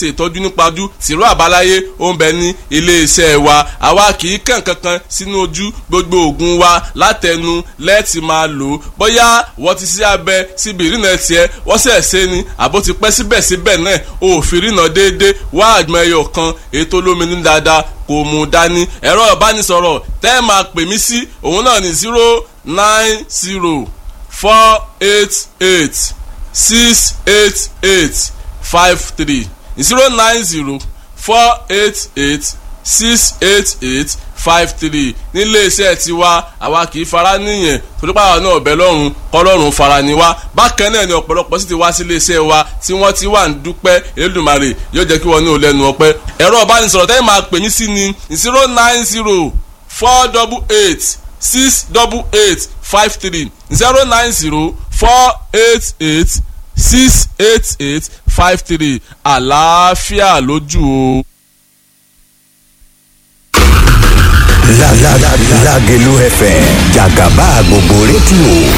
Ṣe ìtọ́jú nípa ojú tìró àbáláyé ó ń bẹ ní iléeṣẹ́ wa. Àwa kì í kàn kankan sínú ojú. Gbogbo oògùn wa látẹnu lẹ́ẹ̀tì máa lò ó. Bóyá wọ́n ti ṣe abẹ síbi ìrìnà tiẹ̀, wọ́n sẹ̀ ṣe ni àbó ti pẹ́, síbẹ̀síbẹ̀ náà ò fi rìnà déédéé. Wá àgbọn ẹyọ kan ètò olómi ní dáadáa kò mú dání. Ẹ̀rọ ìbánisọ̀rọ̀ tẹ́ ẹ máa pè mí sí òun náà ní 09048868853, 09048868853. Nílé iṣẹ́ tiwa, àwa kì í fara níyẹn torí pàwọn náà ọ̀bẹ lọ́rùn kọ́lọ́run fara ni wá. Bákan náà ni ọ̀pọ̀lọpọ̀ sì ti wá sí ilé iṣẹ́ wa tí wọ́n ti wà ń dúpẹ́. Elédùmarè yóò jẹ́ kí wọ́n ní ò lẹ́nu ọpẹ́. Ẹ̀rọ ìbánisọ̀rọ̀ tẹ́yìn máa pè mí sí ni 09048868853, 09048868853. Àlàáfíà lójú o. Lágelú FM, jàgàbá gbogbo rédíò.